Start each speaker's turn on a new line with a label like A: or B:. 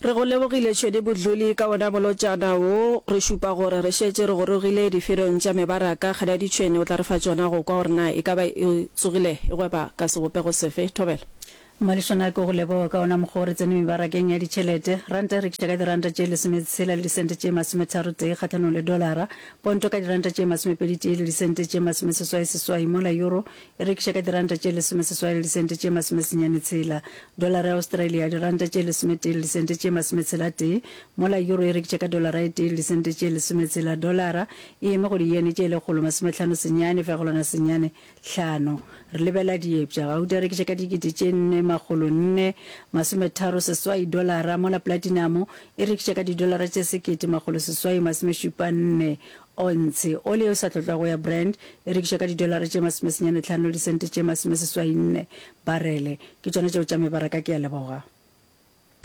A: Re go lebogile Tšhwene Bodluli ka wona molotšana wo. Re šupa gore re šetše re gorogile diferong tša mebaraka. Kgadi ya Ditšhwene o tla re fa tšona go kwa gore na e ka ba e tsogile e gweba ka sebopego sefe. Thobela.
B: Mmalehlwana ke go leboga ka wona mokgwa wo re tsene mebarakeng ya ditšhelete. Ranta e rekiša ka diranta tše lesometshela le disente tše masometharotee kgahlanong le dolara, ponto ka diranta tše masomepeditee le disente tše masomeseswai seswai mola euro e rekiša ka diranta tše lesomeseswai le disente tše masomesenyane tshela. Dolara ya Australia diranta tše lesometee le disente tše masometshela-tee, mola euro e rekiša ka dolara e tee le disente tše lesometshela. Dolara e eme go diyene tše lekgolo masomehlano senyane fegelwana senyane hlano. Re lebela diepša. Gauta e rekiša ka dikete tše nne makgolo nne masometharo seswai dolara, mola platinamo e rekiša ka didolara tše sekete makgolo seswai masomešupa nne ontshe. Oli yeo e sa tlotlwago ya Brent e rekišwa ka didolara tše masomesenyane hlano le disente tše masomeseswai nne barele. Ke tšona tšeo tša mebaraka. Ke a leboga.